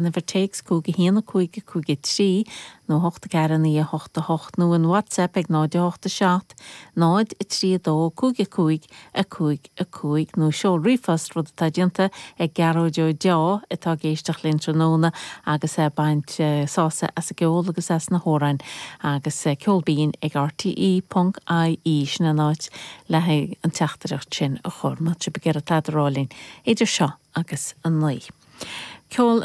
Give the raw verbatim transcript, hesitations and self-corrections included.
Uimhir téacs cúig a haon a cúig a cúig a trí nó hocht a ceathair naoi a hocht a hocht nó an WhatsApp ag náid a hocht a seacht náid a trí a dó cúig a cúig a cúig a cúig nó seol ríomhphost rud atá déanta ag Gearóid Ó Deá atá ag éisteacht linn tráthnóna agus é baint sásamh as an gceol agus as na hamhráin agus ceol binn ag RTE ponc IE sin an áit le haghaidh an teachtaireacht sin a chur má tá sibh ag iarraidh tada a rá linn idir seo agus a naoi. Ceol